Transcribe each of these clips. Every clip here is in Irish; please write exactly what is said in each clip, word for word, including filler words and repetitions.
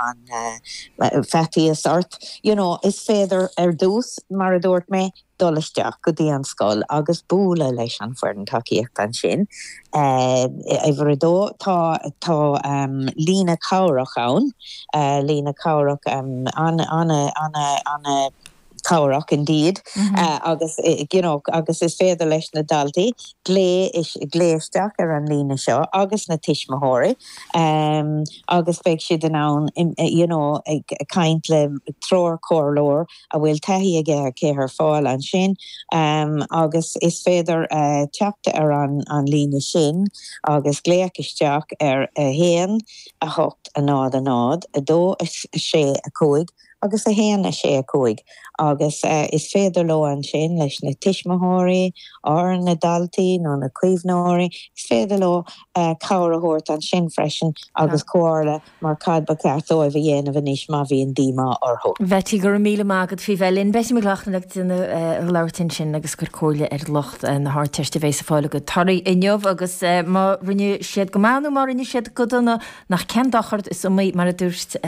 an uh, faitíos ort. You know, is féidir ar dtús mar a dúirt mé dul isteach go dtí an scoil agus bualadh leis an foireann tacaíochta ansin. Uh, Uimhir a dó tá tá um, líne cabhrach ann, uh, líne cabhrach um, an an an an cabhrach indeed mm -hmm. uh, agus eh, you know, agus is féidir leis na daltaí glaoch isteach ar an líne seo agus na tuismitheoirí um, agus beidh siad in ann you know, ag caint le treoirchomhairleoir a bhfuil taithí aige aici ar fáil ansin um, agus is féidir uh, teacht ar an, an líne sin agus glaoch isteach ar a haon a hocht a náid a náid a dó a sé a cúig agus a haon a sé a cúig agus uh, is féidir leo ansin leis na tuismitheoirí ar na daltaí nó na caomhnóirí is féidir leo uh, cabhair a thabhairt ansin freisin agus comhairle mar cad ba cheart dóibh a dhéanamh anois má bhíonn díomá orthu. Betty go míle mágad fi bheinn Betty McLaughlin ag duine labhairt sin agus gur comhairle ar lucht na hArdteiste bheith fáil go torthaí inniu agus má rinne siad go maith nó má rinne siad go dona nach cén dochar is iomaí mar a dúirt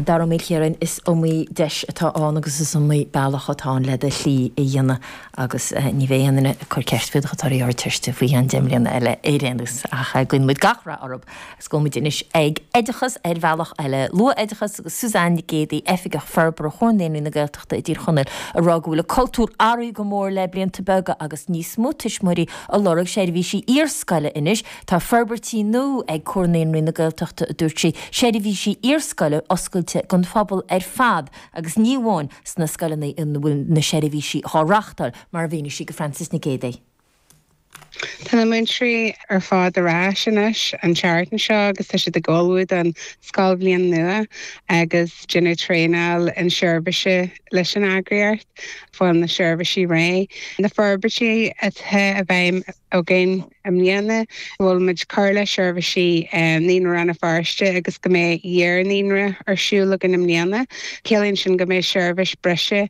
Dara Ó Maoilchiaráin is iomaí deis atá ann agus is iomaí bealach atá le do shlí a dhéanamh agus ní bheidh aon duine ag cur ceist faoi do thorthaí Ardteiste faoi cheann deich mbliana eile ar aon nós ach guíonn muid gach rath orthu agus gabhfaidh muid anois ag oideachas ar bhealach eile luath-oideachas agus Suzanne Nic Géadaigh Oifigeach Forbartha Chomhar Naíonraí na Gaeltachta i dTír Chonaill ag rá go bhfuil an cultúr athraithe go mór le blianta beaga agus níos mó tuismitheoirí ag lorg seirbhísí iarscoile anois tá forbairtí nua ag Comhar Naíonraí na Gaeltachta a dúirt sí seirbhísí iarscoile oscailte don phobal ar fad agus ní amháin sna scoileanna ina bhfuil na seirbhísí á reáchtáil mar a mhínigh sí do Francis Nic Géadaigh. Tá na múinteoirí ar fad ar ais anois an tseachtain seo agus tá siad ag ullmhú don scoilbhliain nua agus déanamh traenáil inseirbhíse leis an eagraíocht fáil na seirbhísí réidh. Na forbairtí atá a bheidh againn i mbliana bhfuil muid cur le seirbhísí Naíonra Rann na Feirste agus go mbeidh iar-naíonra ar siúl againn i mbliana. Ciallaíonn sin go mbeidh seirbhís breise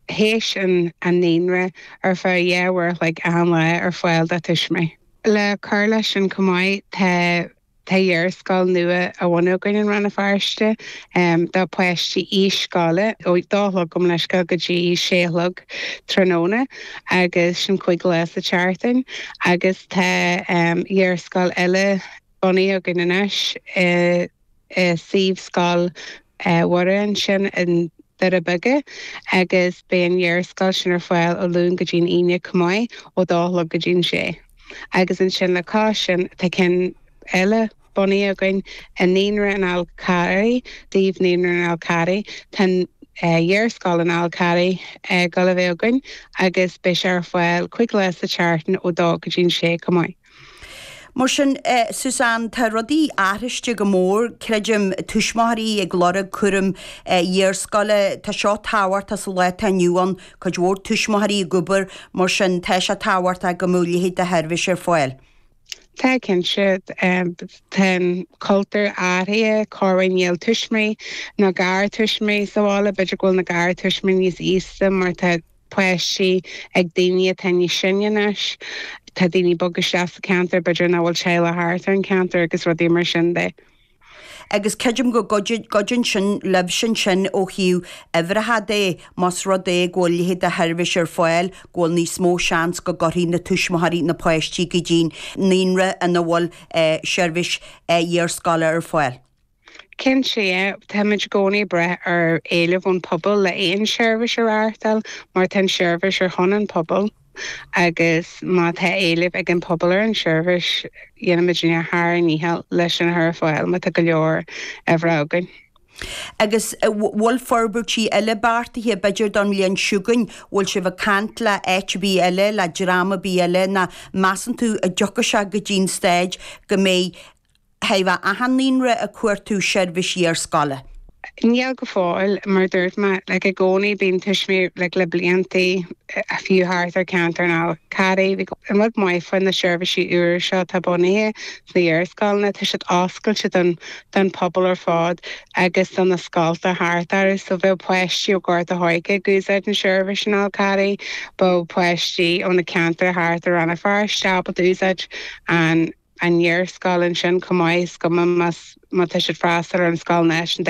théis an an naíonra ar feadh dhá uair an chloig achan lá ar fáil do thuismitheoirí. Le cur leis sin chomh maith tá tá iarscoil nua á bhunú againn in Rann na Feirste um, do pháistí aois scoile ó dó a chlog gabh mo leithscéal go dtí sé a chlog tráthnóna agus sin cúig lá sa tseachtain agus tá um, iarscoil eile bunaithe againn anois i i suíomh scoil Mhuire ansin in Doire Beaga agus beidh an iarscoil sin ar fáil ó Luan go dtí an Aoine chomh maith ó dó a chlog go dtí an sé. Agus ansin le cois sin tá ceann eile bunaithe againn i Naíonra an Fháil Charraigh, suíomh Naíonra an Fháil Charraigh Tá iarscoil an Fháil Charraigh go le bheith againn agus beidh sé ar fáil cúig lá sa tseachtain ó dó go dtí an sé chomh maith. Mar sin eh, Suzanne tá rudaí athraithe go mór creidim tuismitheoirí ag lorg cúram eh, iarscoile Tá seo tábhachtach sa lá atá inniu ann cuid mhór tuismitheoirí ag obair mar sin tá sé tábhachtach go mbeadh leithéid de sheirbhís ar fáil. Tá cinnte tá an cultúr athraithe corruair níl tuismitheoirí nó garthuismitheoirí sa bhaile b'fhéidir go bhfuil na garthuismitheoirí níos aosta mar tá páistí ag daoine atá níos sine anois. Tá daoine ag bogadh isteach sa cheantar b'fhéidir nach bhfuil teaghlach thart ar an ceantar agus rudaí mar sin de. Agus creidim go gcuidíonn sin libh sin sin ó thaobh uimhreacha de más rud é go bhfuil leithéid de sheirbhís ar fáil go bhfuil níos mó seans go gcuirfidh na tuismitheoirí na páistí go dtí naíonra ina bhfuil eh, seirbhís eh, iarscoile ar fáil. Cinnte táimid i gcónaí ag brath ar éileamh ón pobal le aon seirbhís a reáchtáil mar tá an seirbhís ar son an pobal agus má tá éileamh ag an pobal ar an seirbhís dhéanfaimid ár ndícheall leis sin a chur ar fáil má tá go leor uimhreacha againn. Agus bhfuil forbairtí eile beartaithe b'fhéidir don bhliain seo chugainn, bhfuil sibh ag caint le áit ar bith eile le dream ar bith eile nó measann tú an dtiocfaidh sé go dtí'n staid go mbeidh thaobh achan naíonra ag cuartú seirbhís iarscoile. Níl go fóill mar dúirt mé le i gcónaí bíonn tuismitheoirí le le blianta a fiú thart ar ceantar an Fháil Charraigh an rud maith faoi na seirbhísí úr seo tá bunaithe sna hiarscoileanna tá siad oscailte don don pobal ar fad agus don na scolta thart orthu so bheadh páistí ó Ghort a' Choirce ag úsáid an seirbhís an Fháil Charraigh bheadh páistí ó na ceantair thart ar Rann na Feirste ábalta úsáid an an iarscoil ansin chomh maith is cuma má tá siad freastal ar an scoil náisiúnta